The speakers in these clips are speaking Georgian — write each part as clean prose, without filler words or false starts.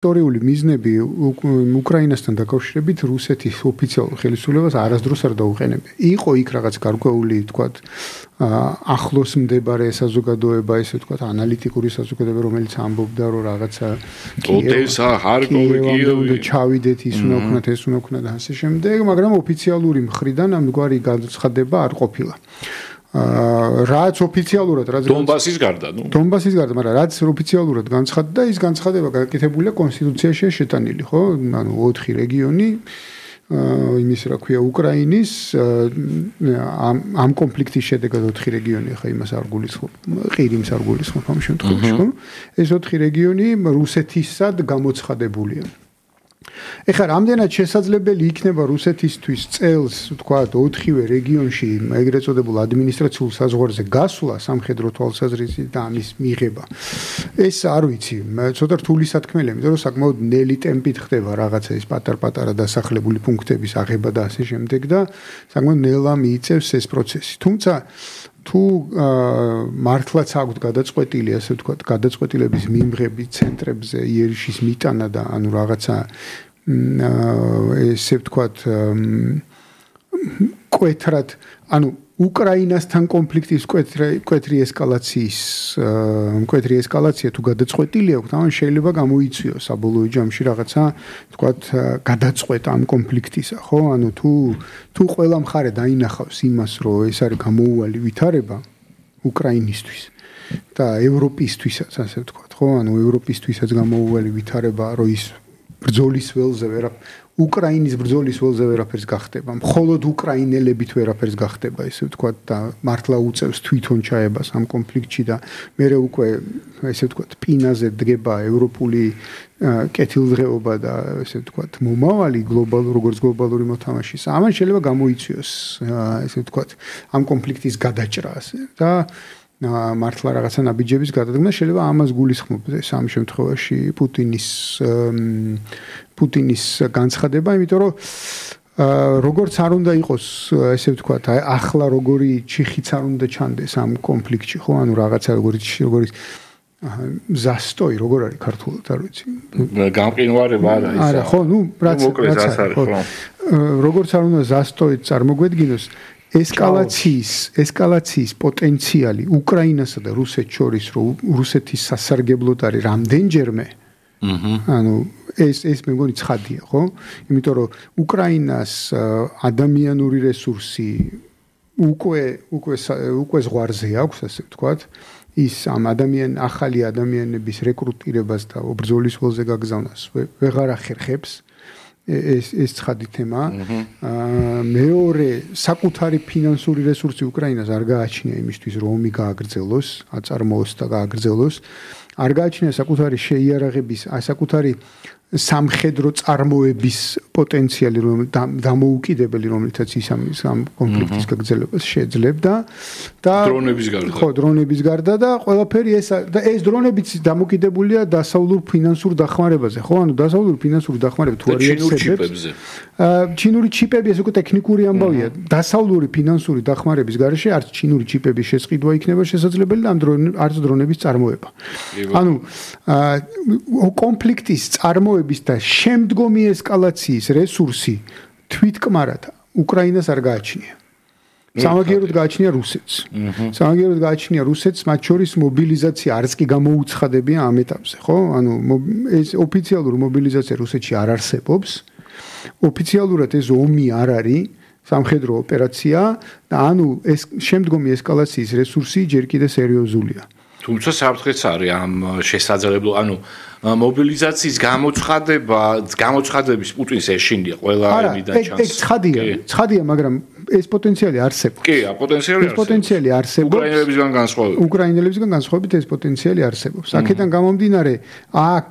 ისტორიული მიზნები უკრაინასთან დაკავშირებით რუსეთის ოფიციალურ ხელისუფლებას არასდროს არ დაუყენებია. იყო იქ რაღაც გარკვეული, თქვათ, ახლოს მდებარე საზოგადოება, ესე ვთქვათ, ანალიტიკური საზოგადოება, რომელიც ამბობდა, რომ რაღაცა ოდესა, ჰარკოვი, ჩავიდეთ, ის უნდა ვქნათ, ეს უნდა ვქნათ და ასე შემდეგ, მაგრამ ოფიციალური მხრიდან ამგვარი განცხადება არ ყოფილა. რაც ოფიციალურად დონბასის გარდა, მაგრამ რაც ოფიციალურად განცხადდა, ის განცხადება გაკეთებულია კონსტიტუციაში შეტანილი, ხო? ანუ 4 რეგიონი იმის რა ქვია უკრაინის ამ კონფლიქტის შედეგად 4 რეგიონი ხა იმას არ გულისხმობ, ყირიმს არ გულისხმობ ამ შემთხვევაში, ხო? ეს 4 რეგიონი რუსეთისად გამოცხადებულია. ეხლა რამდენად შესაძლებელი იქნება რუსეთისთვის წელს, ვთქვათ, 4-ვე რეგიონში ეგრეთ წოდებულ ადმინისტრაციულ საზღვარზე გასვლა სამხედრო თვალსაზრისით და ამის მიღება. ეს არ ვიცი, ცოტა რთული სათქმელია, იმიტომ რომ საკმაოდ ნელი ტემპით ხდება რაღაცა ის პატარ-პატარა დასახლებული პუნქტების აღება და ასე შემდეგ და საკმაოდ ნელა მიიწევს ეს პროცესი. თუმცა თუ მართლაც აქვთ გადაწყვეტილი, ასე ვთქვათ, გადაწყვეტილების მიმღები ცენტრებზე იერიშის მიტანა და ანუ რაღაცა ესე ვთქვათ კვეთრად, ანუ უკრაინასთან კონფლიქტის კვეთრი ესკალაცია თუ გადაწყვეტილი აქვს, ამან შეიძლება გამოიწვიოს საბოლოო ჯამში რაღაცა, ვთქვათ, გადაწყვეტა ამ კონფლიქტისა, ხო? ანუ თუ ყველა მხარე დაინახავს იმას, რომ ეს არის გამოუვალი ვითარება უკრაინისთვის და ევროპისთვისაც, ასე ვთქვათ, ხო? ანუ ევროპისთვისაც გამოუვალი ვითარება, რომ ის ბრძოლის ველზე უკრაინის ბრძოლის ველზე ვერაფერს გახდება. მხოლოდ უკრაინელებით ვერაფერს გახდება, ესე ვთქვათ, და მართლა უწევს თვითონ ჩაებას ამ კონფლიქტში და მერე უკვე, ესე ვთქვათ, პინაზე დგება ევროპული კეთილდღეობა და ესე ვთქვათ, მომავალი როგორც გლობალური მოთამაშის. ამან შეიძლება გამოიწვიოს, ესე ვთქვათ, ამ კონფლიქტის გადაჭრა და მართლა რაღაცა ნაბიჯების გადადგმა შეიძლება ამას გულისხმობდეს ამ შემთხვევაში პუტინის განცხადება, იმიტომ რომ როგორც არ უნდა იყოს, ესე ვთქვათ, ახლა როგორი ჩიხიც არ უნდა ჩანდეს ამ კონფლიქტში, ხო? ანუ რაღაცა როგორი ზასტოი, როგორ არის ქართულად, არ ვიცი. გამყინვარება არა ის. არა, ხო, რაც როგორც არ უნდა ზასტოი წარმოგვედგინოს, ესკალაციის პოტენციალი უკრაინასა და რუსეთს შორის, რომ რუსეთის სასარგებლოდ არის რამდენჯერმე. ანუ ეს მე მგონი ცხადია, ხო? იმიტომ რომ უკრაინას ადამიანური რესურსი უკვე ზღვარზე აქვს, ასე ვთქვათ. ის ამ ახალი ადამიანების რეკრუტირებას და ბრძოლის ველზე გაგზავნას ვეღარ ახერხებს. ეს ცხადი თემა. მეორე, საკუთარი ფინანსური რესურსი უკრაინას არ გააჩნია იმისთვის, რომ ომი გააგრძელოს, აწარმოოს და გააგრძელოს. არ გააჩნია საკუთარი შეიარაღების, საკუთარი სამხედრო წარმოების პოტენციალი, დამოუკიდებელი, რომლითაც ის ამ კონფლიქტის გაგრძელებას შეძლებდა და დრონების გარდა და ყველაფერი ეს დრონებიც დამოკიდებულია დასავლურ ფინანსურ დახმარებაზე, ხო? ანუ დასავლურ ფინანსურ დახმარება თუ არ იარსებებს. ჩინური ჩიპები ეს უკვე ტექნიკური ამბავია. დასავლური ფინანსური დახმარების გარეშე არც ჩინური ჩიპების შესყიდვა იქნება შესაძლებელი და არც დრონების წარმოება. ანუ კონფლიქტის წარმოების და შემდგომი ესკალაციის რესურსი თვითკმარად უკრაინას არ გააჩნია. სამაგიეროდ გააჩნია რუსეთს. სამაგიეროდ გააჩნია რუსეთს, მათ შორის მობილიზაცია არც კი გამოუცხადებია ამ ეტაპზე, ხო? ანუ ეს ოფიციალური მობილიზაცია რუსეთში არ არსებობს. ოფიციალურად ეს ომი არ არის, სამხედრო ოპერაცია და ანუ ეს შემდგომი ესკალაციის რესურსი ჯერ კიდე სერიოზულია. თუმცა საფრთხეც არის ამ შესაძლებლო, ანუ მობილიზაციის გამოცხადების პუტინს ეშინია ყველა ამიდან ჩანს. ეს ცხადია, მაგრამ ეს პოტენციალი არსებობს. კი, პოტენციალი არსებობს. უკრაინელებისგან განსხვავებით ეს პოტენციალი არსებობს. აქედან გამომდინარე, აქ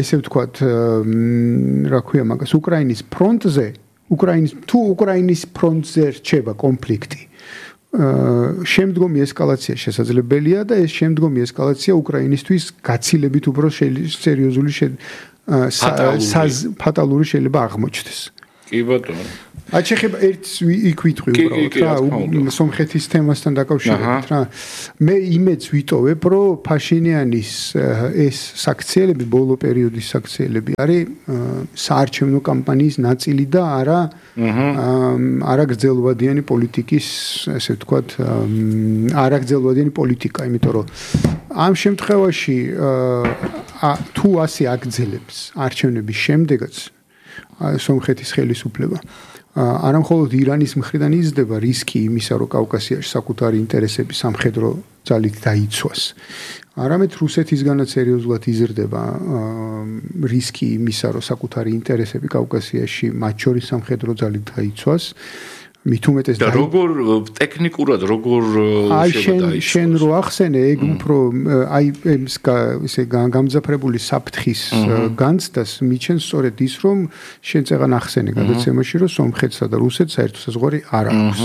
ესე ვთქვათ, რა ქვია მაგას, უკრაინის ფრონტზე, უკრაინის ფრონტზე რჩება კონფლიქტი. შემდგომი ესკალაცია შესაძლებელია და ეს შემდგომი ესკალაცია უკრაინისთვის გაცილებით უფრო სერიოზული ფატალური შეიძლება აღმოჩნდეს. კი ბატონო. აჩეხება ერთს იქ ვიტყვი უბრალოდ რა სომხეთის თემასთან დაკავშირებით რა მე იმედს ვიტოვებ რომ ფაშინიანის ეს საქციელები ბოლო პერიოდის საქციელები არის საარჩევნო კამპანიის ნაწილი და არა გრძელვადიანი პოლიტიკის ესე ვთქვათ არა გრძელვადიანი პოლიტიკა იმიტომ რომ ამ შემთხვევაში თუ ასე აგრძელებს არჩევნების შემდეგაც სომხეთის ხელისუფლება არა მხოლოდ ირანის მხრიდან იზრდება რისკი იმისა, რომ კავკასიაში საკუთარი ინტერესები სამხედრო ძალით დაიცვას. არამედ რუსეთისგანაც სერიოზულად იზრდება რისკი იმისა, რომ საკუთარი ინტერესები კავკასიაში მათ შორის სამხედრო ძალით დაიცვას. მით უმეტეს და როგორ ტექნიკურად როგორ შენ რო ახსენე ეგ უფრო აი ესე გამძაფრებული საფრთხის განცდას მიჩენს სწორედ ის რომ შენ წეგან ახსენე გადაცემაში რომ სომხეთსა და რუსეთს საერთო საზღვარი არ აქვს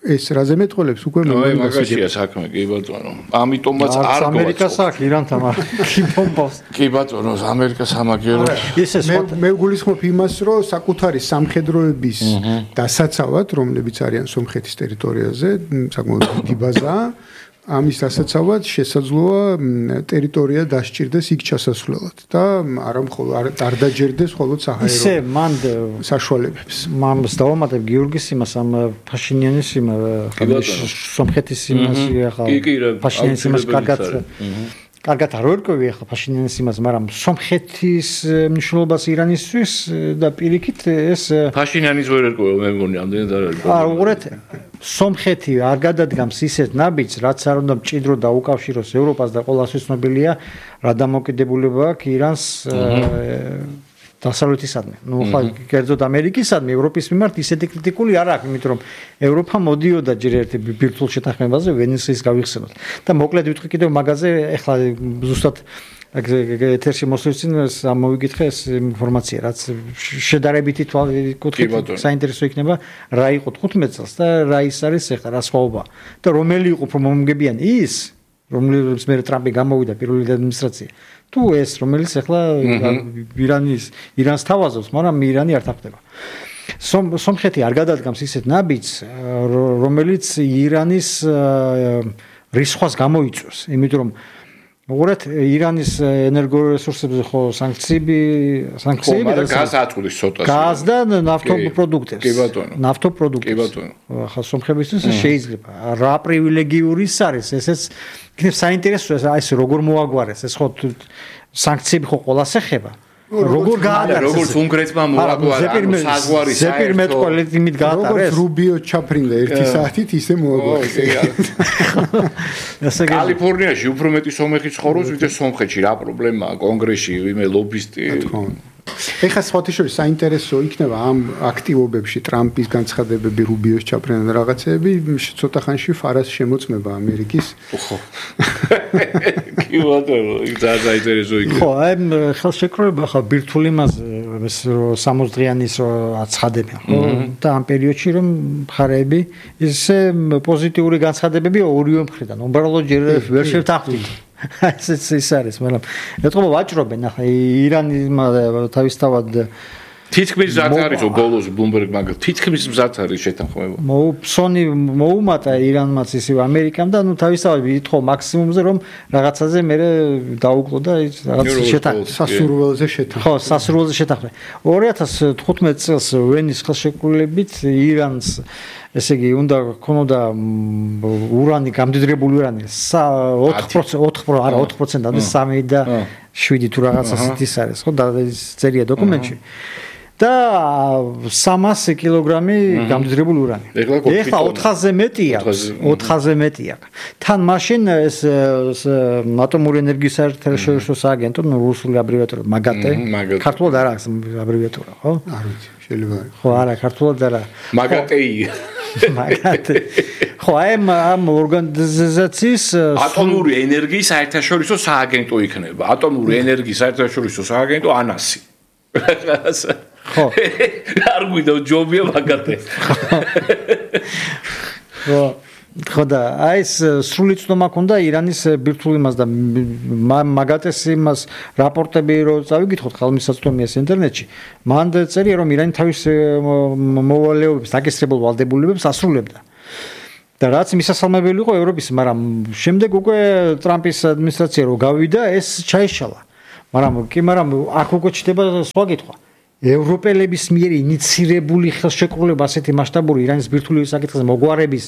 ეს რაზე მეტყოლებს უკვე მაგაშია საქმე კი ბატონო ამიტომაც არ გვაქვს ამერიკას აქვს ირანთან კი ბომბავს კი ბატონო ამერიკას ამაგერო მე გულისხმობ იმას რომ საკუთარი სამხედროების დასაცავად რომლებიც არიან სომხეთის ტერიტორიაზე საკმაოდ დიდი ბაზაა ამის დასაცავად შესაძლოა ტერიტორია დასჭირდეს იქ ჩასასვლელად და არა მხოლოდ არ დაჯერდეს მხოლოდ საჰაერო ისე მან საშუალებებს მან დავამატებ გიორგის იმას ამ ფაშინიანის სომხეთის იმას ახლა ფაშინიანის იმას კარგად არ ვერკვევი ახლა ფაშინიანის იმას მაგრამ სომხეთის მნიშვნელობას ირანისთვის და პირიქით ეს ფაშინიანის ვერ ერკვევა მე მგონი ამდენად არ არის უყურეთ სომხეთი არ გადადგამს ისეთ ნაბიჯს რაც არ უნდა მჭიდრო დაუკავშიროს ევროპას და ყველასთვის ცნობილია რა დამოკიდებულება აქვს ირანს დასავლეთისადმი. ნუ ხა კერძოდ ამერიკისადმი ევროპის მიმართ ისეთი კრიტიკული არ აქვს, იმიტომ რომ ევროპა მოდიოდა ჯერ ერთი ბირთვულ შეთანხმებაზე ვენეციის გავიხსენოთ. და მოკლედ ვიტყვი კიდევ მაგაზე, ეხლა ზუსტად ეთერში მოსვლის წინ მოვიკითხე ეს ინფორმაცია, რაც შედარებითი კუთხით საინტერესო იქნება, რა იყო 15 წელს და რა ის არის ეხლა რა სხვაობა. და რომელი იყო უფრო მომგებიანი ის, რომელიც მე ტრამპი გამოვიდა პირველი ადმინისტრაცია. თუ ეს რომელიც ახლა ირანს თავაზობს, მაგრამ ირანი არ თახდება. სომხეთი არ გადადგამს ისეთ ნაბიჯს, რომელიც ირანის რისხვას გამოიწვევს, იმიტომ რომ უყურეთ ირანის ენერგორესურსებზე ხო სანქციები და გაზ აწვდის ცოტას. გაზ და ნავთობპროდუქტებს. კი ბატონო. ნავთობპროდუქტებს. კი ბატონო. ახლა სომხებისთვის შეიძლება. რა პრივილეგიური ის არის, ესეც იქნებ საინტერესოა ეს როგორ მოაგვარეს, ეს ხო სანქციები ხო ყველას ეხება. როგორ გაატარეს როგორც უნგრეთმა მოაგვარა საზღვარი ზეპირმეტყოლით იმით გაატარეს როგორც რუბიო ჩაფრინდა 1 საათით ისე მოაგვარეს კალიფორნიაში უფრო მეტი სომეხი ცხოვრობს ვიდრე სომხეთში რა პრობლემაა კონგრესში ვიმე ლობისტი ეხლა სხვათაშორის საინტერესო იქნება ამ აქტივობებში ტრამპის განცხადებები რუბიოს ჩაფრენა რაღაცეები ცოტა ხანში ფარას შემოწმება ამერიკის ხო კი ბატონო იქ საინტერესო იქნება ხო აი ხელშეკრულება ხა ბირთვული მასზე 60 დღიანის აცხადებენ ხო და ამ პერიოდში რომ მხარეები ისე პოზიტიური განცხადებები ორივე მხრიდან უბრალოდ ჯერ ვერ შევთანხმდით ეს არის, მაგრამ ეთქობა ვაჭრობენ ახლა ირანმა თავისთავად თითქმის მზად არის ბოლოს ბლუმბერგ მაგალ თითქმის მზად არის შეთანხმება. მოუფსონი მოუმატა ირანმაც ისევ ამერიკამ და ნუ თავისთავად ვითხოვ მაქსიმუმზე რომ რაღაცაზე მე დაუკლო და რაღაც სასურველზე შეთანხმება. ხო, სასურველზე შეთანხმება. 2015 წელს ვენის ხელშეკრულებით ირანს ესე იგი უნდა ქონოდა ურანი გამდიდრებული ურანი 4%-ამდე 3 და 7 თუ რაღაცა ის არის ხო და წერია დოკუმენტში და 300 კილოგრამი გამდიდრებული ურანი. ეხლა 400-ზე მეტი აქვს, 400-ზე მეტი აქვს. თან მაშინ ეს ატომური ენერგიის საერთაშორისო სააგენტო, რუსული აბრივიატურა მაგატე, ქართულად არ აქვს აბრივიატურა, ხო? არ ვიცი, შეიძლება. ხო, არა, ქართულად არა. მაგატეი. მაგატე. ხო, ამ ორგანიზაციის ატომური ენერგიის საერთაშორისო სააგენტო იქნება. ატომური ენერგიის საერთაშორისო სააგენტო ანასი. ხო. არ გვიდა ჯობია მაგატე. ხო. ხო და აი ეს სრული ცნობა ქონდა ირანის ბირთვულ იმას და მაგათეს იმას რაპორტები რო წავიკითხოთ ხელმისაწვდომიას ინტერნეტში მან წერია რომ ირანი თავის მოვალეობებს დაგესწრებულ ვალდებულებებს ასრულებდა და რაც მისასალმებელი იყო ევროპის მაგრამ შემდეგ უკვე ტრამპის ადმინისტრაცია რო გავიდა ეს ჩაიშალა მაგრამ აქ უკვე ჩდება სხვა კითხვა ევროპელების მიერ ინიცირებული ხელშეკრულება ასეთი მასშტაბური ირანის ბირთვული საკითხზე მოგვარების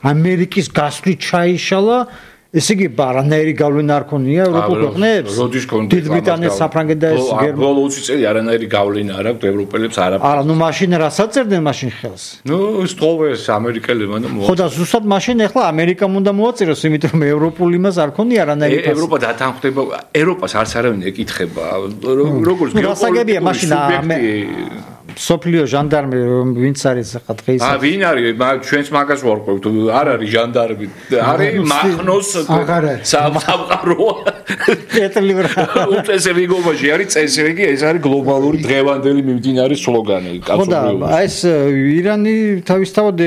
ამერიკის გასვლით ჩაიშალა ესე იგი არანაირი გავლენა არ ქონია ევროპულ ქვეყნებს როდის ქონდა დიდ ბრიტანეთს საფრანგეთს და ეს ბოლო 20 წელი არანაირი გავლენა არ აქვს ევროპელებს არა ნუ მაშინ რასაც წერდნენ მაშინ ხელს ნუ სწოვეს ამერიკელებმა და ხო და ზუსტად მაშინ ახლა ამერიკამ უნდა მოაწეროს იმიტომ რომ ევროპული იმას არ ქონია არანაირი ევროპა დათანხმდება ევროპას არც არავინ ეკითხება როგორც გეოპოლიტიკური მაშინ სოფლიო ჟანდარმი ვინც არის ახლა დღეს ვინ არის ჩვენს მაგას ვარკვევთ არ არის ჟანდარმი არის მახნოს სამყაროა პეტრლივრა უწესრიგობაში არის წესრიგი ეს არის გლობალური დღევანდელი მიმდინარე სლოგანი კაცობრიობის აი ეს ირანი თავისთავად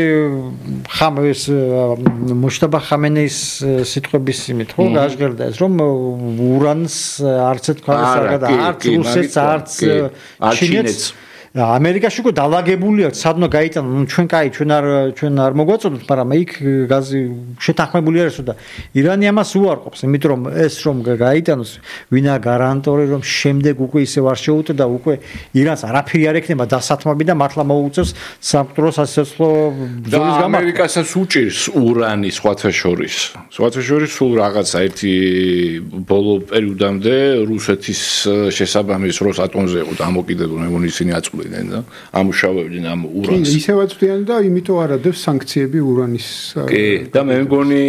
ხამეს მუშტაბა ხამენეის სიტყვების იმით ხო გაჟღერდა ეს რომ ურანს არც ეთქვა არც რუსეთს არც ჩინეთს ამერიკაში უკვე დაალაგებული აქვს სადნო გაიტანა ჩვენ არ მოგვაწოდოთ მაგრამ იქ გაზი შეთანხმებული არის და ირანი ამას უარყოფს იმიტომ რომ ეს რომ გაიტანოს ვინა გარანტორი რომ შემდეგ უკვე ისევ არ შეუტყდა უკვე ირანს არაფერი არ ექნება დასათმები და მართლა მოუწევს სამკვდრო სასიცოცხლო ბრძოლის გამარჯვებას ამერიკასაც უჭირს ურანი სხვათა შორის სულ რაღაცა ერთი ბოლო პერიოდამდე რუსეთის შესაბამის როსატომზე იყო დამოკიდებული მე მგონი ისინი და ამუშავებდნენ ამ ურანს. ისევაც ვთიან და იმიტომ არ ადევს სანქციები ურანის. კი, და მე მგონი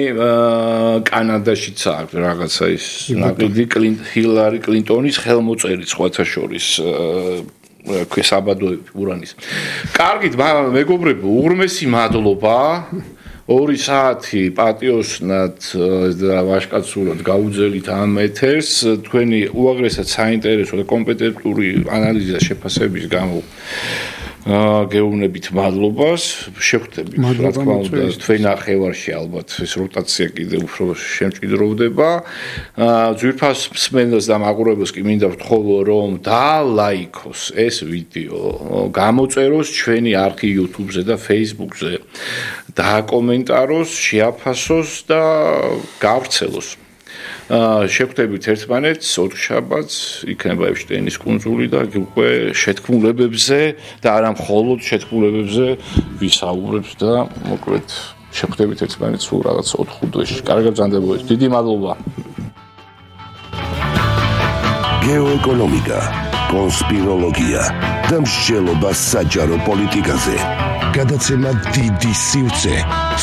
კანადაშიც აქვს რაღაცა ის ნაკიდი ჰილარი კლინტონის ხელმოწერით სხვათა შორის ქვესაბადოები ურანის. კარგით, მეგობრებო, უღრმესი მადლობა. 2 საათი პატიოსნად და ვაშკაცურად გაუძელით ამ ეთერს თქვენი უაღრესად საინტერესო და კომპეტენტური ანალიზი და შეფასების გამო გეუბნებით მადლობას შეხვდებით რა თქმა უნდა თქვენ ნახევარში ალბათ ეს როტაცია კიდევ უფრო შემჭიდროვდება ძვირფას მსმენელს და მაყურებელს კი მინდა ვთხოვო რომ დალაიქოს ეს ვიდეო გამოწეროს ჩვენი არქი YouTube-ზე და Facebook-ზე დააკომენტაროს შეაფასოს და გავრცელოს შეხვდებით ერთმანეთს ოთხშაბათს იქნება ეფშტეინის კუნძული და უკვე შეთქმულებებზე და არა მხოლოდ შეთქმულებებზე ვისაუბრებთ და მოკლედ შეხვდებით ერთმანეთს სულ რაღაც 4-5 დღეში. კარგად ბრძანდებოდეთ. დიდი მადლობა. გეოეკონომიკა, კონსპიროლოგია და მსჯელობა საჯარო პოლიტიკაზე. გადაცემა დიდი სივრცე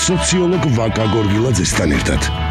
სოციოლოგ ვაკა გორგილაძესთან ერთად.